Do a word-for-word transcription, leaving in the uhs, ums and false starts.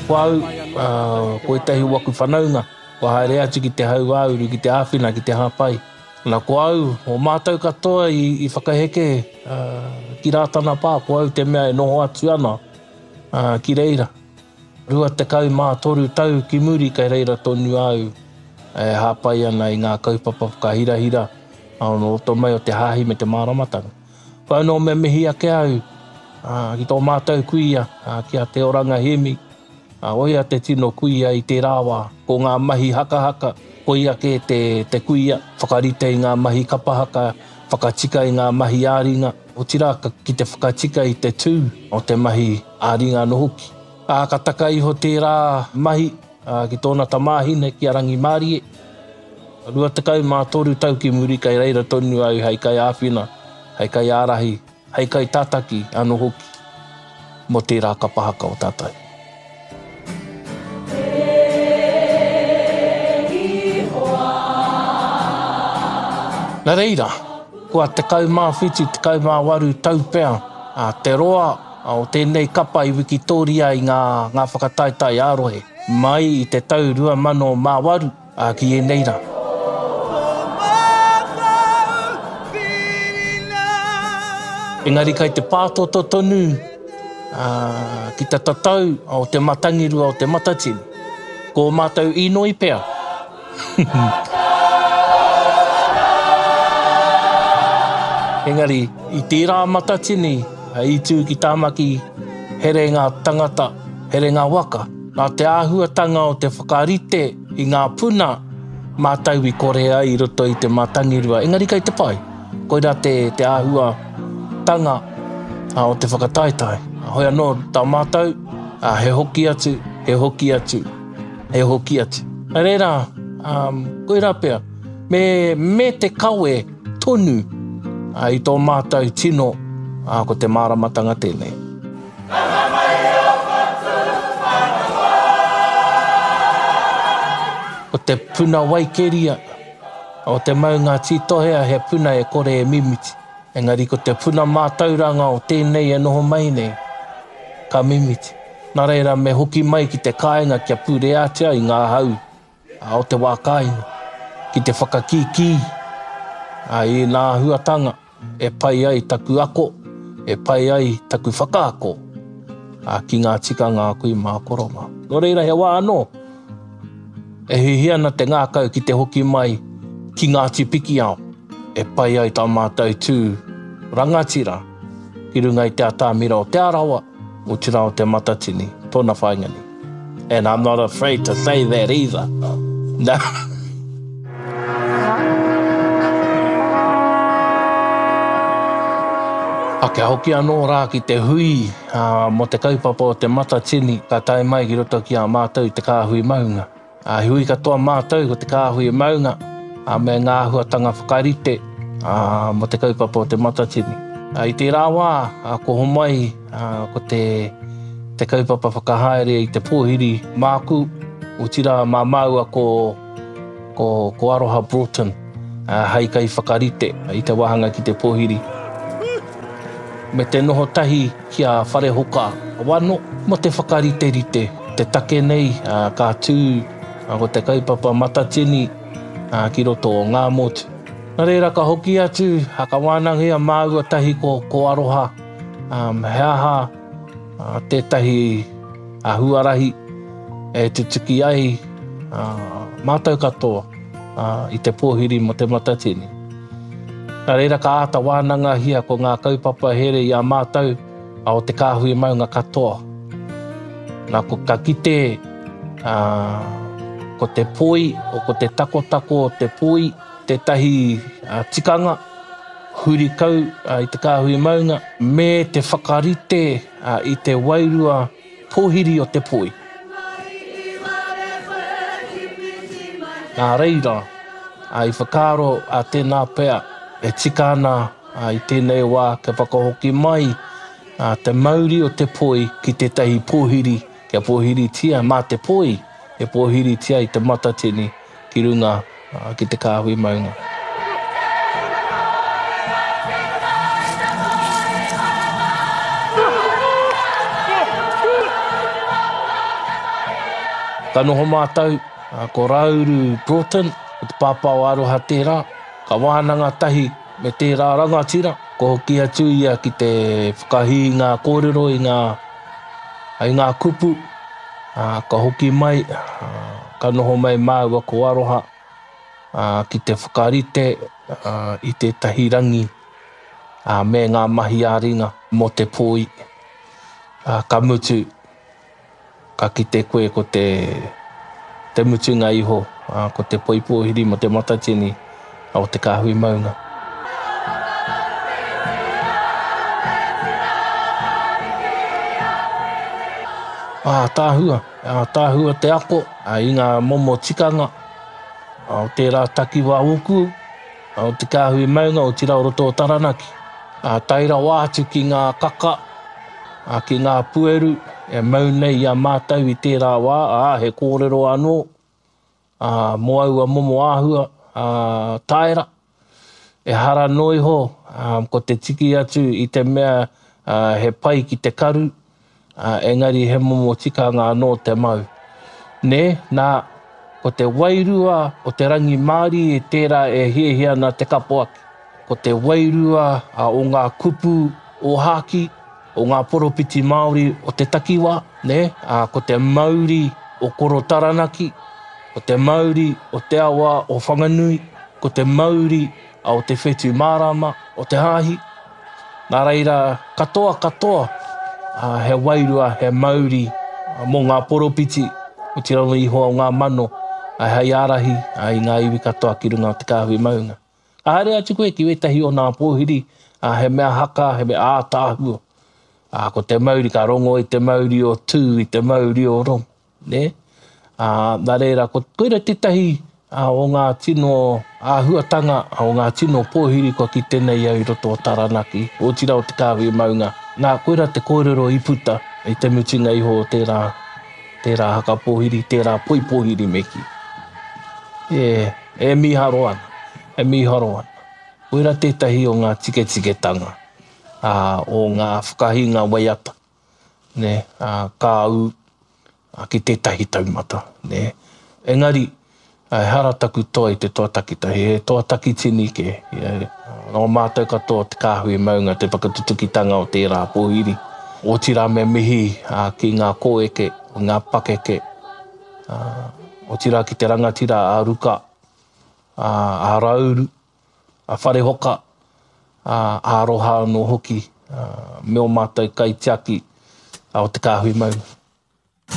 Ko au, uh, ko ētahi o aku whanaunga, kua haere atu ki te hauāuru, ki te āwhina, ki te hāpai. Nā, ko au, o mātou katoa i, i whakaheke uh, ki Rātana Pā, ko au te mea e noho atu ana uh, ki reira. Rua tekau mā toru tau ki muri kei reira tonu au e hāpai ana i ngā kaupapa whakahirahira o roto mai o te hāhi me te māramatanga. Ko anō me mihi ake au uh, ki tō mātou kuia, uh, ki a Te Oranga Hemi, uh, oia te tino kuia i tērā wā. Ko ngā mahi hakahaka, koia ke te, te kuia, whakarite i ngā mahi kapahaka, whakatika i ngā mahi ā-ringa, otirā ki te whakatika i te tū o te mahi ā-ringa anō hoki. Ā, ka taka iho tērā mahi ā, ki tōna tamāhine ki a Rangimārie. Rua tekau mā toru tau ki muri kei reira tonu au hei kai āwhina, hei kai ārahi, hei kai tātaki anō hoki mō tērā kapahaka o tātou. Nā reira, kua tekau mā whitu, tekau mā waru tau pea a, te roa o tēnei kapa i Wikitoria i ngā, ngā whakataetae ā-rohe, mai i te tau rua mano mā waru a, ki ēnei rā. Engari kai te pātoto tonu uh, ki te tatau o te matangirua o te Matatini. Ko mātou inoi pea. Engari, i tērā Matatini, i tū ki Tāmaki, here ngā tangata, here ngā waka. Nā te āhuatanga o te whakarite i ngā puna, mātou i kore ai i roto i te matangirua. Engari kai te pai, koirā te, te āhuatanga o te whakataetae. Hoi anō tā mātou, he hoki atu, he hoki atu, he hoki atu. Nā reira, um, koirā pea, me, me te kawe tonu uh, i tō mātou tino, uh, ko te māramatanga tēnei. Ko te puna waikeria o te maunga Tītohea he puna e kore e mimiti. Engari ko te puna mātauranga o tēnei e noho mai nei, ka mimiti. Nā reira me hoki mai ki te kāinga kia pūreatia i ngā hau o te wā kāinga, ki te whakakīkī i ngā āhuatanga e pai ai taku ako, e pai ai taku whakaako ki ngā tikanga a kui mā koro mā. Nō reira he wā anō, e hihi ana te ngākau ki te hoki mai ki Ngāti Pikiao, e pai ai tā mātou tū rangatira ki runga i te atamira o Te Arawa, otirā o te Matatini, tōna whāinga nei. And I'm not afraid to say that either. No. A kia hoki anō rā ki te hui uh, mō te kaupapa o te Matatini, ka tae mai ki roto ki a mātou te kāhui maunga. A hui katoa mātou ko te kāhui maunga a me ngā āhuatanga whakarite a, mō te kaupapa o te Matatini. A, i tērā wā, a, ko homai a, ko te, te kaupapa whakahaere i te pōhiri māku, otirā mā māua ko, ko, ko Aroha Broughton, a, hei kai whakarite i te wāhanga ki te pōhiri. Me te noho tahi ki a Wharehoka Wano mō te whakariterite. Te take nei a, ka tū a, ko te kaupapa Matatini a, ki roto o Ngāmotu. Nā reira ka hoki atu, a, ka wānangia māua tahi ko, ko Aroha, um, he aha a, tētahi a, huarahi e tutuki ai a, mātou katoa a, i te pōhiri mō te Matatini. Nā reira ka āta wānangahia ko ngā kaupapa here i a mātou a o te kāhui maunga katoa. Nā, ko ka kite a, ko te poi, o ko te takotako o te poi, tētahi a, tikanga, huri kau a, i te kāhui maunga, me te whakarite a, i te wairua pōhiri o te poi. Nā reira, a, i whakaaro a tēnā pea, e tika ana a, i tēnei wā kia whakahoki mai a, te mauri o te poi ki tētahi pōhiri, kia pōhiritia mā te poi, e pōhiritia i te Matatini ki runga a, ki te kāhui maunga. Ka noho mātou, ko Rauru Broughton, ko te pāpā o Aroha tērā, ka wānanga tahi me tērā rangatira, ko hoki atu ia ki te whakahī i ngā kōrero, i ngā, i ngā kupu, ka hoki mai, ka noho mai māua ko Aroha ki te whakarite i tētahi rangi me ngā mahi ā-ringa mō te pōi. Ka mutu, ka kite koe ko te, te mutunga iho, ko te poi pōhiri mo te Matatini o te Kāhui Maunga. Ātaahua, ātaahua te ako i ngā momo tikanga o tērā takiwā ōku, o te Kāhui Maunga, otirā o roto o Taranaki. Tae rawa atu ki ngā kaka, ki ngā pueru e mau nei i a mātou i tērā wā, ā, he kōrero anō mō aua momo āhua taera. Ehara noa iho ko te tiki atu i te mea he pai ki te karu, engari he momo tikanga anō te mau. Nē, nā, ko te wairua o te rangimārie tērā e hiahia ana te kapo ake. Ko te wairua o ngā kupu ōhākī, o ngā poropiti Māori o te takiwā, nē, ā, ko te mauri o Koro Taranaki, ko te mauri o te awa o Whanganui, ko te mauri o te whetū mārama o te hāhi. Nā reira, katoa katoa, ā, he wairua, he mauri mō ngā poropiti, otirā iho o ngā mano, ā, hei ārahi i ngā iwi katoa ki runga o te kāhui maunga. Ka haere atu koe ki wētahi o nā pōhiri, ā, he mea haka, he mea ātaahua. Ā, ko te mauri, ka rongo i te mauri o Tū, i te mauri o Rongo, nē? Ā, nā reira, ko, koira tētahi o ngā tino āhuatanga, o ngā tino pōhiri kua kite nei au i roto o Taranaki, otirā o Te Kāhui Maunga. Nā, koira te kōrero i puta i te mutunga iho o tērā, tērā haka pōhiri, tērā poi pōhiri me kī. E, e mīharo ana, e mīharo ana. Koira tētahi o ngā tiketiketanga, ā, o ngā whakahīnga waiata, nē, ā, ka ū ki tētahi taumata, nē. Engari, ehara taku toa i te toa takitahi, he toa takitini kē. Nō mātou katoa te kāhui maunga te whakatutukitanga o tērā pōhiri. Otirā me mihi ki ngā kōeke, ngā pakeke, otirā ki te rangatira a Ruka, a Rauru, a Wharehoka, a Aroha anō hoki, me ō mātou kaitiaki o te kāhui maunga.